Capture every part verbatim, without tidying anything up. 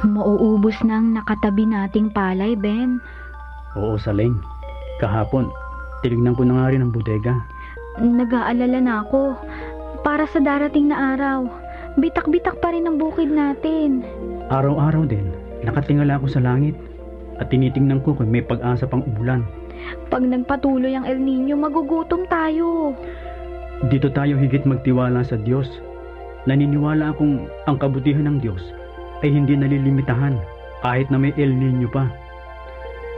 Mauubos na ang nakatabi nating palay, Ben. Oo, Saleng. Kahapon, tinignan ko na nga rin ang bodega. Nag-aalala na ako para sa darating na araw. Bitak-bitak pa rin ang bukid natin. Araw-araw din, nakatingala ako sa langit at tinitingnan ko kung may pag-asa pang umulan. Pag nagpatuloy ang El Niño, magugutom tayo. Dito tayo higit magtiwala sa Diyos. Naniniwala akong ang kabutihan ng Diyos ay hindi nalilimitahan kahit na may El Niño pa.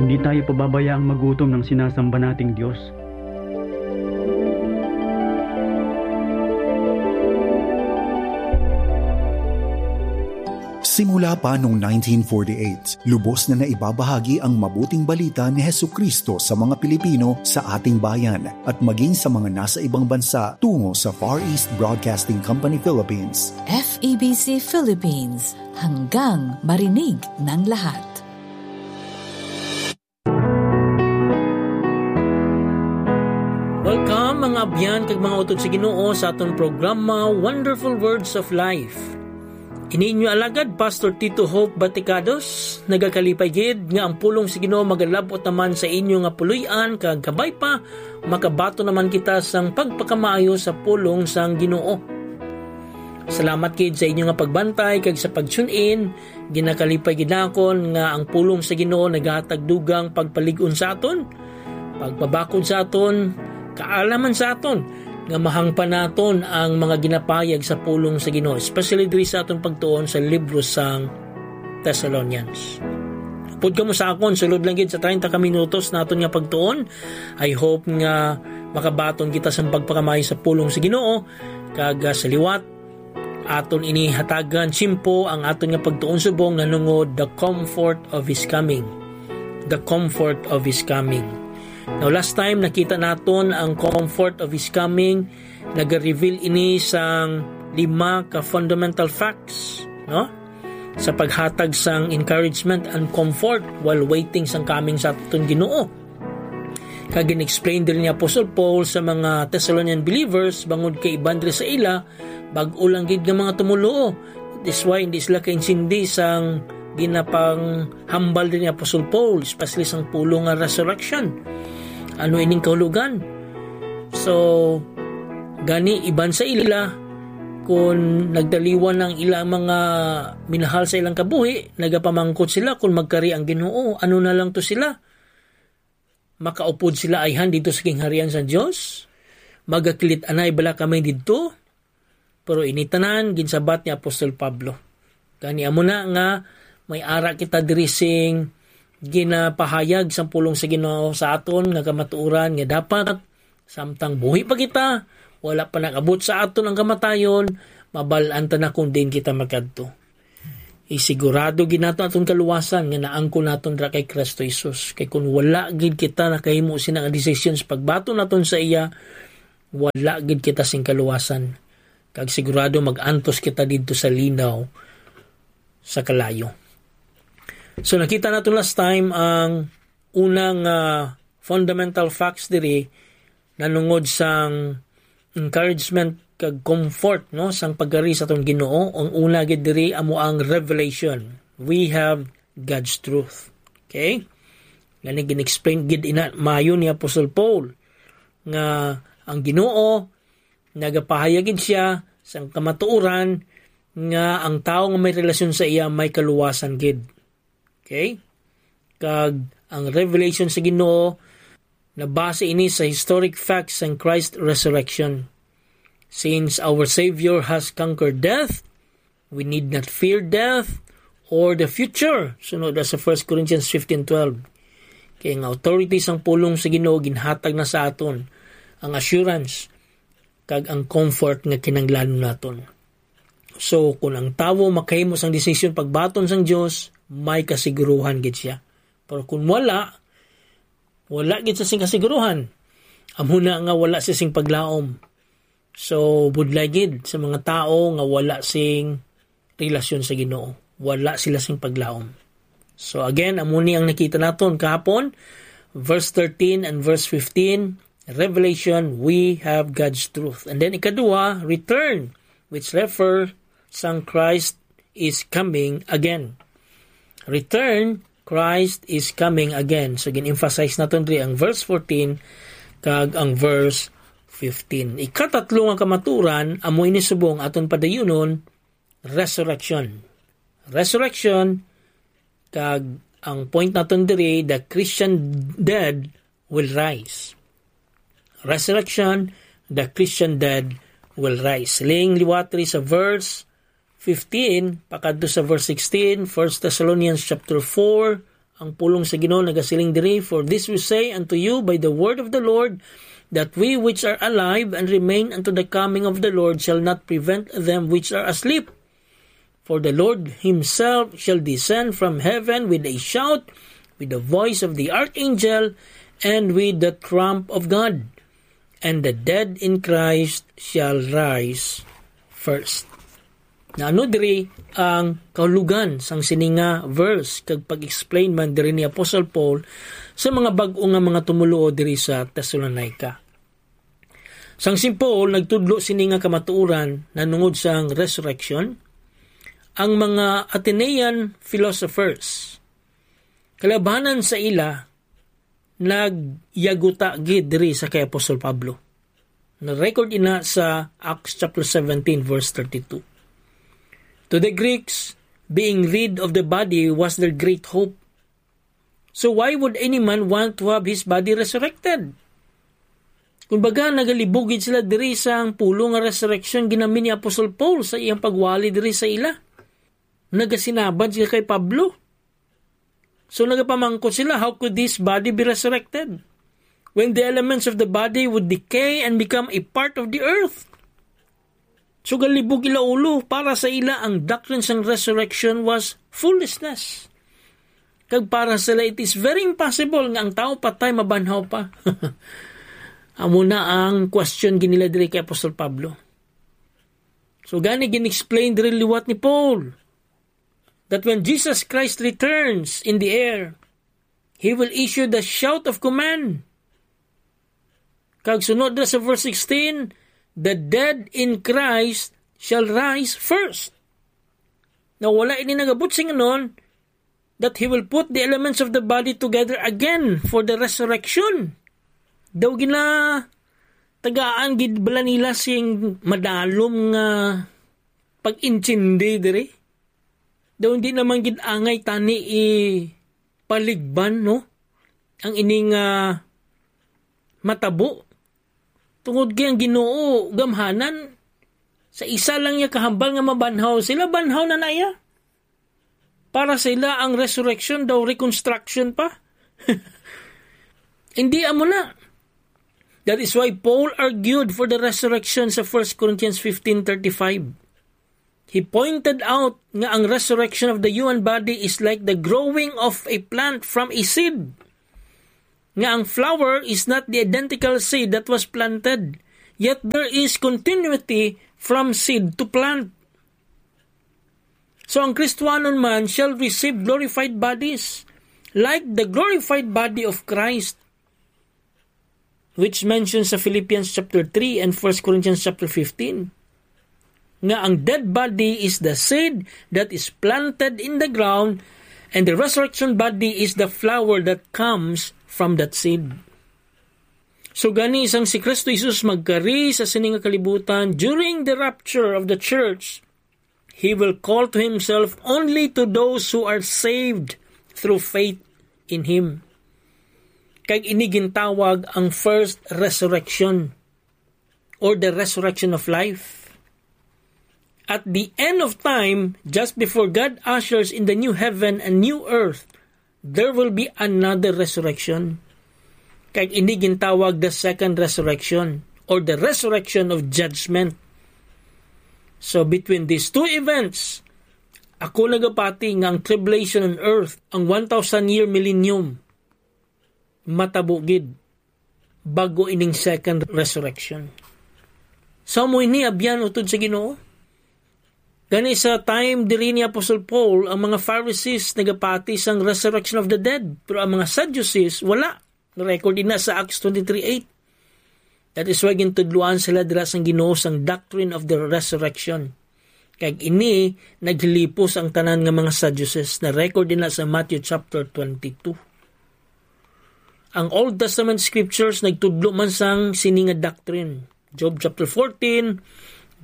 Hindi tayo pababayaang magutom ng sinasamba nating Diyos. Simula pa noong nineteen forty-eight, lubos na naibabahagi ang mabuting balita ni Jesucristo sa mga Pilipino sa ating bayan at maging sa mga nasa ibang bansa tungo sa Far East Broadcasting Company Philippines. F E B C Philippines, hanggang marinig ng lahat. Welcome, mga abyan kag mga utod sa Ginoo, sa aton programa, Wonderful Words of Life. Ini inyo alagad, Pastor Tito Hope Baticados, nagakalipay gid nga ang pulong sa Ginoo magalab-ot naman sa inyo nga puloy-an, kag kabay pa, makabaton naman kita sang pagpakamaayo sa pulong sang Ginoo. Salamat gid sa inyo nga pagbantay kag sa pag-tune in. Ginakalipay gid nakon nga ang pulong sa Ginoo nagahatag dugang pagpalig-on sa aton, pagpabakod sa aton, kaalaman sa aton, nga mahangpan naton ang mga ginapahayag sa pulong sa Ginoo, especially diri sa aton pagtuon sa libro sang Thessalonians. Upod kamo sa akon, sulod lang gid sa treinta ka minutos naton nga pagtuon. I hope nga makabaton kita sa pagpakamay sa pulong sa Ginoo, kag, ah, sa liwat, aton ini hatagan simpo ang aton nga pagtuon subong nanungod the comfort of His coming. The comfort of His coming. Now, last time nakita naton ang comfort of His coming, nag-reveal ini sang lima ka fundamental facts, no? Sa paghatag sang encouragement and comfort while waiting sang coming sa aton Ginoo. Kag gin-explain diri ni Apostle Paul sa mga Thessalonian believers bangod kay iban diri sa ila, bag-o lang gid nga mga tumoluo. That's why hindi sila kaintindi sang ginapanghambal diri ni Apostle Paul, especially sang pulong nga resurrection. Ano ining kahulugan? So, gani iban sa ila, kun nagtaliwan ang ilang mga minahal sa ilang kabuhi, nagapamangkot sila kun magkari ang Ginoo, ano na lang to sila? Makaupod sila ayhan didto sa gingharian sa Dios? Magakilit-anay bala kami didto? Pero ini tanan ginsabat ni Apostol Pablo. Gani amo na nga may ara kita diri sing ginapahayag sang pulong sa Ginoo sa aton nga kamatuoran nga dapat samtang buhi pa kita, wala pa nag-abot sa aton ang kamatayon, mabal-an ta na kung diin kita makadto. Isigurado gid nato aton kaluwasan nga naangkon naton dira kay Cristo Jesus. Kay kun wala gid kita nakahimo sina nga desisyon sa pagbaton naton sa iya, wala gid kita sing kaluwasan. Kag sigurado mag-antos kita didto sa linaw sa kalayo. So, nakita nato last time ang unang, ah, fundamental facts diri nanungod sang encouragement kag comfort, no, sang pagkari sa aton Ginoo. Ang una gid diri amo ang revelation. We have God's truth. Okay? Gani gin-explain gid ina maayo ni Apostol Paul nga ang Ginoo nagapahayag gid siya sang kamatuoran nga ang tawo nga may relasyon sa iya may kaluwasan gid. Okay? Kag ang revelation sa Ginoo, nabase ini sa historic facts sang Christ resurrection. Since our Savior has conquered death, we need not fear death or the future. Sunod na sa First Corinthians fifteen twelve. Kay ang authority sang pulong sa Ginoo ginhatag na sa aton ang assurance kag ang comfort nga kinahanglanon naton. So, kung ang tawo makahimo sang desisyon pagbaton sang Dios, may kasiguruhan gid siya. Pero kung wala, wala gid sa sing kasiguruhan. Amo na nga wala siya sing paglaom. So, budlay gid sa mga tawo nga wala sing relasyon sa Ginoo. Wala sila sing paglaom. So again, amo ni ang nakita naton kahapon, verse thirteen and verse fifteen, revelation, we have God's truth. And then ikadua, return, which refer sang Christ is coming again. Return, Christ is coming again. So, gin-emphasize naton diri ang verse fourteen kag ang verse fifteen. Ikatatlo nga kamaturan, amo ini subong aton padayunon, resurrection. Resurrection, kag ang point naton diri, the Christian dead will rise. Resurrection, the Christian dead will rise. Siling liwat diri sa verse fifteen, pakadto sa verse sixteen, First Thessalonians chapter four, ang pulong sa Ginoo nagasiling diri, "For this we say unto you by the word of the Lord, that we which are alive and remain unto the coming of the Lord shall not prevent them which are asleep. For the Lord himself shall descend from heaven with a shout, with the voice of the archangel, and with the trump of God. And the dead in Christ shall rise first." Na ano diri ang kahulugan sang sini nga verse, kag pag-explain man diri ni Apostle Paul sa mga bag-o nga mga tumoluo diri sa Thessalonica? Sang si Paul nagtudlo sini nga kamatuoran nanungod sang resurrection, ang mga Athenian philosophers, kalabanan sa ila, nagyaguta gid diri sa kay Apostol Pablo. Na-record ina sa Acts chapter seventeen, verse thirty-two. To the Greeks, being rid of the body was their great hope. So why would any man want to have his body resurrected? Kumbaga, nagalibog gid sila diri sa ang pulong nga resurrection ginamit ni Apostol Paul sa iyang pagwali diri sa ila. Nagasinabad sila kay Pablo. So nagapamangkot sila, "How could this body be resurrected when the elements of the body would decay and become a part of the earth?" So galibog ila ulo, para sa ila ang doctrine sang resurrection was foolishness. Kag para sila, it is very impossible nga ang tawo patay mabanhaw pa. Amo na ang question ginila diri kay Apostol Pablo. So gani gin-explain diri liwat ni Paul that when Jesus Christ returns in the air, he will issue the shout of command. Kag sunod na sa verse sixteen, "The dead in Christ shall rise first." Now, wala ini nagabot sing anon that he will put the elements of the body together again for the resurrection. Daw ginatagaan gid bala nila sing madalom nga pag-intindi diri. Daw hindi naman gid angay tani ipaligban, no? Ang ining, ah, matabo. Tungod kay ang Ginoo gamhanan, sa isa lang niya kahambal nga mabanhaw sila, banhaw na na iya. Para sa ila, ang resurrection daw reconstruction pa. Hindi, amo na. That is why Paul argued for the resurrection sa First Corinthians fifteen thirty-five. He pointed out nga ang resurrection of the human body is like the growing of a plant from a seed. Nga ang flower is not the identical seed that was planted, yet there is continuity from seed to plant. So ang Kristohanon man shall receive glorified bodies, like the glorified body of Christ, which mentions sa Philippians chapter three and First Corinthians chapter fifteen, nga ang dead body is the seed that is planted in the ground, and the resurrection body is the flower that comes from that seed. So gani, sang si Kristo Jesus magkari sa sini nga kalibutan during the rapture of the church, he will call to himself only to those who are saved through faith in him. Kag ini gintawag ang first resurrection, or the resurrection of life. At the end of time, just before God ushers in the new heaven and new earth, there will be another resurrection. Kag ini gintawag the second resurrection, or the resurrection of judgment. So between these two events, ako nagapati nga ang tribulation on earth, ang one thousand year millennium, matabo gid bago ining second resurrection. So, amo ini abyan utod sa Ginoo. Gani sa time diri ni Apostle Paul, ang mga Pharisees nagapati sang resurrection of the dead, pero ang mga Sadducees wala. Na-record ina sa Acts twenty-three eight. That is why gintudloan sila dira sang Ginoo sang doctrine of the resurrection. Kag ini naghilipos ang tanan nga mga Sadducees, na record ina sa Matthew chapter twenty-two. Ang Old Testament scriptures nagtudlo man sang sini nga doctrine. Job chapter fourteen,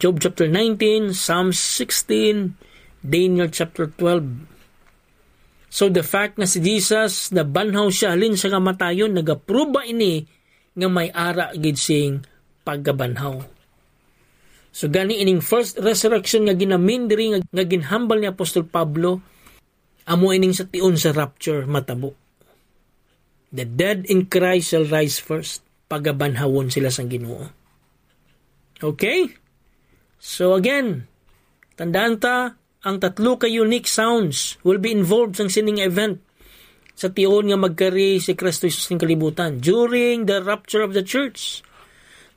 Job chapter nineteen, Psalms sixteen, Daniel chapter twelve. So the fact nga si Jesus nabanhaw siya halin sa kamatayon, nagapruba ini nga may ara gid sing pagkabanhaw. So gani, ining first resurrection nga ginamin diri nga, nga ginhambal ni Apostol Pablo, amo ining sa tion sa rapture matabo. The dead in Christ shall rise first. Pagabanhawon sila sang Ginoo. Okay? So again, tandaan ta, ang tatlo ka unique sounds will be involved sang sining event sa tion nga magkari si Kristo Jesus ning kalibutan during the rapture of the church.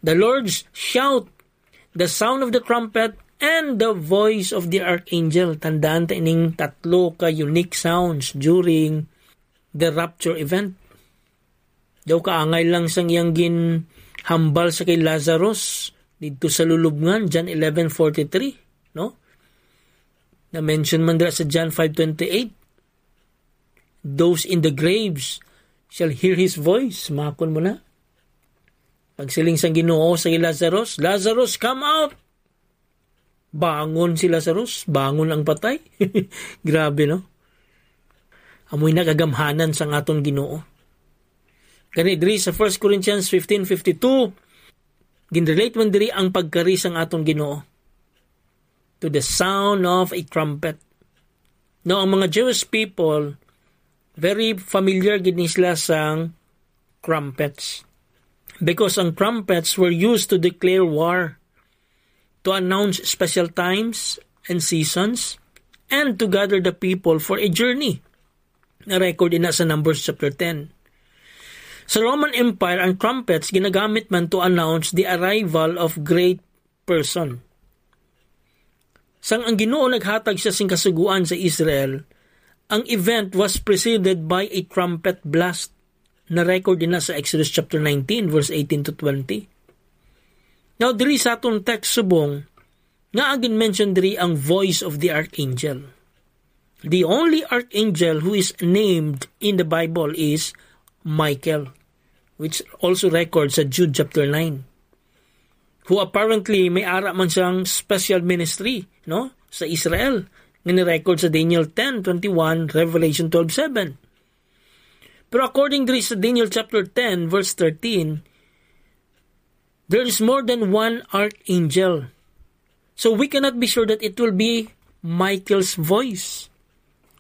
The Lord's shout, the sound of the trumpet, and the voice of the archangel. Tandaan ta ining tatlo ka unique sounds during the rapture event. Daw kaangay lang sang iyang ginhambal sa kay Lazarus didto sa lulubngan, John eleven forty-three, no? Na-mention man dira sa John five twenty-eight. "Those in the graves shall hear his voice." Makon mo na. Pagsiling sang Ginoo sa kay Lazarus, "Lazarus, come out!" Bangon si Lazarus, bangon ang patay. Grabe, no? Amoy nagagamhanan sang aton Ginoo. Gani diri sa First Corinthians fifteen fifty-two, ginrelate man diri ang pagkari sang aton Ginoo to the sound of a trumpet. Now, ang mga Jewish people, very familiar gid ni sila sang trumpets. Because ang trumpets were used to declare war, to announce special times and seasons, and to gather the people for a journey. Na-record ina sa Numbers chapter ten. Sa Roman Empire, ang trumpets ginagamit man to announce the arrival of great person. Sang ang Ginoo naghatag siya sing kasugoan sa Israel, ang event was preceded by a trumpet blast. Na-record ina sa Exodus chapter nineteen, verse eighteen to twenty. Now, diri sa aton text subong, nga gin-mention diri ang voice of the archangel. The only archangel who is named in the Bible is Michael, which also records sa Jude chapter nine, who apparently may ara man siyang special ministry, no, sa Israel, nga ni-record sa Daniel ten twenty-one, Revelation twelve seven. Pero according diri sa Daniel chapter ten, verse thirteen, there is more than one archangel. So we cannot be sure that it will be Michael's voice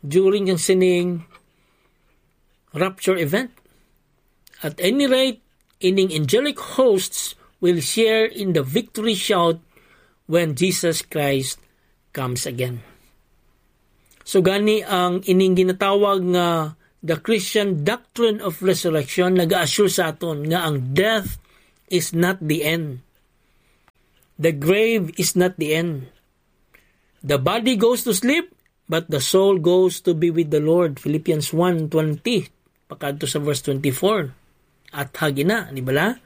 during ang sining rapture event. At any rate, ining angelic hosts will share in the victory shout when Jesus Christ comes again. So gani, ang ining ginatawag nga the Christian doctrine of resurrection nag-assure sa aton nga ang death is not the end. The grave is not the end. The body goes to sleep, but the soul goes to be with the Lord. Philippians one twenty, pakadto sa verse twenty-four. At hagi na, di bala?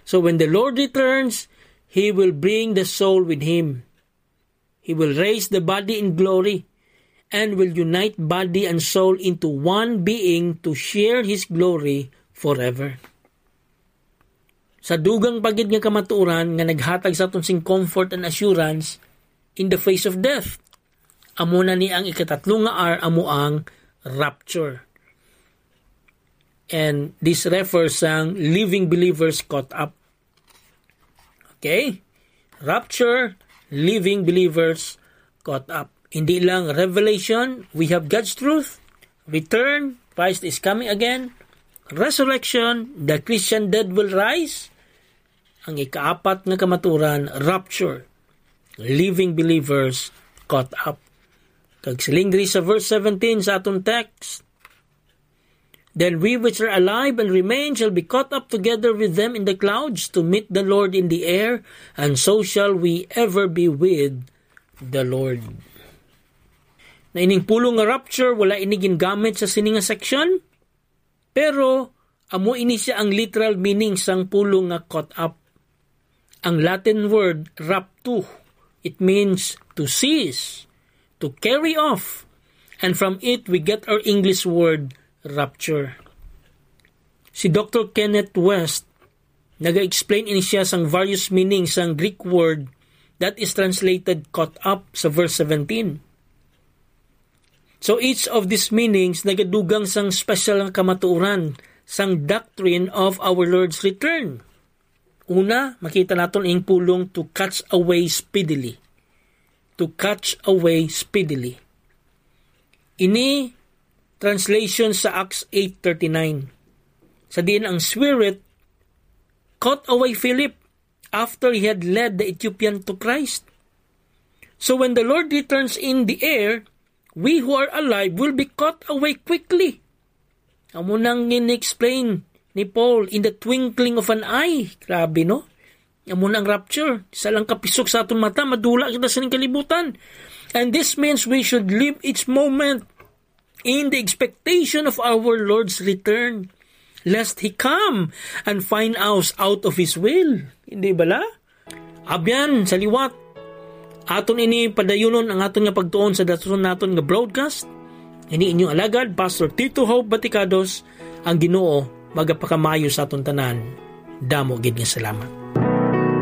So when the Lord returns, He will bring the soul with Him. He will raise the body in glory and will unite body and soul into one being to share His glory forever. Sa dugang pa gid nga kamatuoran nga naghatag sa aton sing comfort and assurance in the face of death. Amo na ni ang ikatatlo nga R, amo ang rapture. And this refers sang living believers caught up. Okay? Rapture, living believers caught up. Hindi lang revelation, we have God's truth. Return, Christ is coming again. Resurrection, the Christian dead will rise. Ang ikaapat nga kamaturan, rapture, living believers caught up. Kag siling diri sa verse seventeen sa aton text, "Then we which are alive and remain shall be caught up together with them in the clouds to meet the Lord in the air, and so shall we ever be with the Lord." Na ining pulong nga rapture, wala ini gingamit sa sini nga section, pero amo ini sia ang literal meaning sang pulong nga caught up. Ang Latin word raptu, It means to seize, to carry off. And from it, we get our English word rapture. Si Doctor Kenneth West, naga-explain ini siya sang various meanings sang Greek word that is translated caught up sa verse seventeen. So each of these meanings nagadugang sang special nga kamatuoran sang doctrine of our Lord's return. Una, makita naton ang pulong to catch away speedily. To catch away speedily. Ini translation sa Acts eight thirty-nine. Sa diin ang Spirit caught away Philip after he had led the Ethiopian to Christ. So when the Lord returns in the air, we who are alive will be caught away quickly. Amo nang in-explain ni Paul, "In the twinkling of an eye." Grabe, no? Amo nang rapture. Sa lang kapisok sa aton mata, madula kita sa ning kalibutan. And this means we should live each moment in the expectation of our Lord's return, lest He come and find us out of His will. Hindi bala? Abyan, sa liwat, aton ini padayunon ang aton nga pagtuon sa datuson naton nga broadcast. Ini inyong alagad, Pastor Tito Hope Baticados, ang Ginoo magapakamayo sa aton tanan. Damo gid nga salamat.